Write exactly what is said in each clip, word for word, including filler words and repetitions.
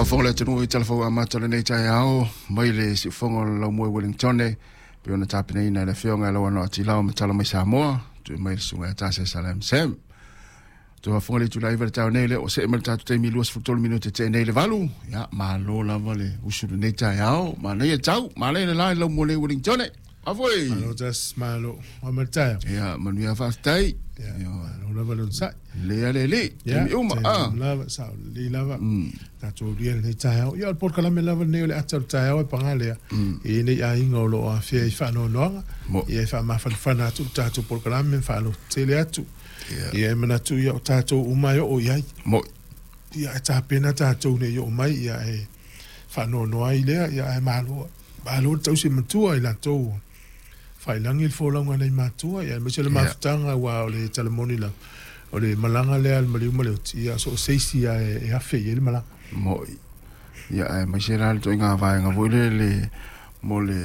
Faafofoga le atunuu i talafou amata o lenei taeao mai le siufofoga o le Laumua i Wellington pei ona tapenaina e le afioga i Lauano a Tilao ma Tala mai Samoa, tuuina mai le susuga ia Tase Salem Sam. Toe faafofoga le itula iva le taeao nei lea ua see mai le tatou taimi luasefulu tolu minute tea nei le valu. Ia, malo lava le usu i lenei taeao. Manaia tau, manaia le la i le Laumua nei i Wellington. Afoi! Malo tas, malo. Wa ma le taeao. Ia, manuia faafetai. Ia, malo lava le onosai. Lea le alii, taimi uma. Taimi uma lava, sao lelei lava. Tatou aulia lenei taeao. Ia, o le polokalame lava lenei o le ata o le taeao e paga lea. E i ai nei aiga o lo o afea i faanoanoaga. Ia, e faamafanafana atu le tatou polokalame ma faalototele atu. Ia, e manatu ia o tatou uma e oo i ai. Ia, ae tapena tatou ne i oo mai, ia, e faanoanoa ai lea, ia, ae malo, malo le tausi matua i latou ua faailagi le folauga a nai matua, ia, aemaise le mafutaga, aua o le tala moni lava, o le malaga lea a le maliu ma le oti, ia, so o se isi lava e afe i ai le malaga. Mo'i. Ia, aemaise la le ituaiga vaega foi lele mo le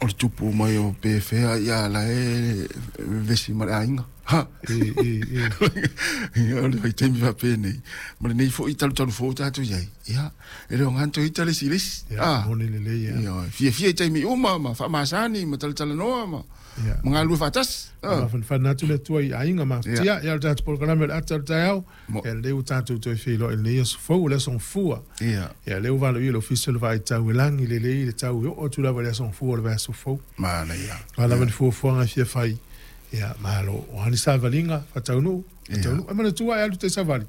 o le tupu mai o pe fea, ia la e vevesi ma le aiga. Ha! E, e, e. Ia, o le vaitaimi faapenei, ma lenei foi talutalu fou tatou i ai, ia, e le o gana toe ita le isi i le isi. Ia, Ah. moni lelei, ia. Ia, fiafia i taimi uma ma faamasani ma talatalanoa ma Ia. ma galulue faatasi. Ah. Mafanafana atu le Atua i aiga mafatia. Ia. Ia, o le tatou polokalame o le ata o le taeao. Mo. Ia, lea ua tatou toe feiloai i lenei aso fou, o le aso Gafua. Ia. Ia, lea ua valoia le Ofisa o le Vaai Tau e lagi lelei le tau e oo atu lava i le aso Gafua o le vaiaso fou. Manaia. O a lava ni fuafuaga e fia fai, ia, malo. O a ni savaliga faataunuu, faataunuu. E manatua e alu te savali.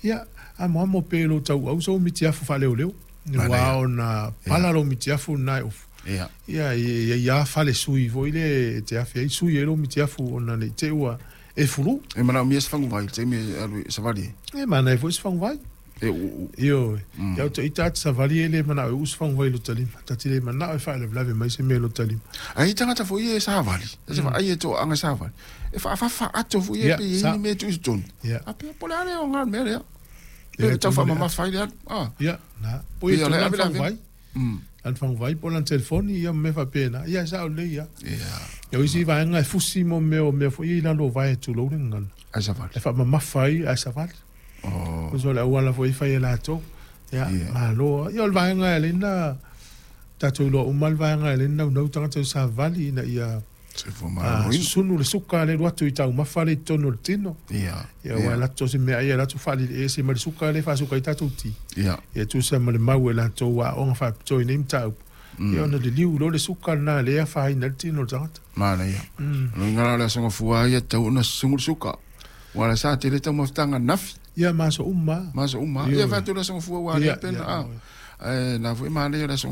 Ia, amoamo pe lo tauau sou mitiafu faaleoleo. Ua ona pala lou mitiafu lena e ofu. Ia. Ia, ia, ia fale sui foi le te afe ai sui e lou mitiafu ona nei te ua e fulu. E manaomia se faguvai i le taimi e alu i savali ai. E manaia foi se faguvai. E uu. Ioe. Ia o te ita atu savali e le manao e uu se faguvai i lota lima. Ta te le manao e faalavelave mai se mea i lota lima. Ai i tagata foi ia e savali, e se vaai e toaaga savali, e faafafa ato foi ia Ia, pe i ai sa. ni mea e tuu i totonu. Ia. A pea po o le a lea o ngā mea lea. Ia, Pe tau tonu le faamamafa ai le alu. Ah. Ia, na. Po i Ia, tonu le lan ave le ave. faguvai. Mm. Lan faguvai po lan telefoni, ia ma mea faapena. Ia, e sao lelei ia. Ia. Ia, o isi vaega e fusi mo mea o mea foi ia i lalo o vae tulou le gagana. Ae savali. E faamamafa ai ae savali. Oh. O so le auala foi e fai e latou. Ia, Ia. malo. Ia, o le vaega e ala ai na tatou iloa uma le vaega e ala ai na naunau tagata i savali ina ia Soifua ah, maloloina. susunu le suka le alu atu i taumafa le i totonu o le tino. Ia. Ia, ua latou se meaai e latou faaliliese ma le suka lea e faasuka ai tatou ti. Ia. Ia tusa ma le mau e latou aoga faapitoa i nei mataupu. Ia ona liliu loa le suka lena lea e afaina ai le tino o le tagata. Manaia. O luga la o le aso gafua ia tatau ona susugu le suka. Ua la sa tele taumafataga nafi. Ia ma aso uma. Ma aso uma. Ioe. Ia fai atu le aso gafua ua Ia, le pena. ia, Ah. Ae na foi manaia le aso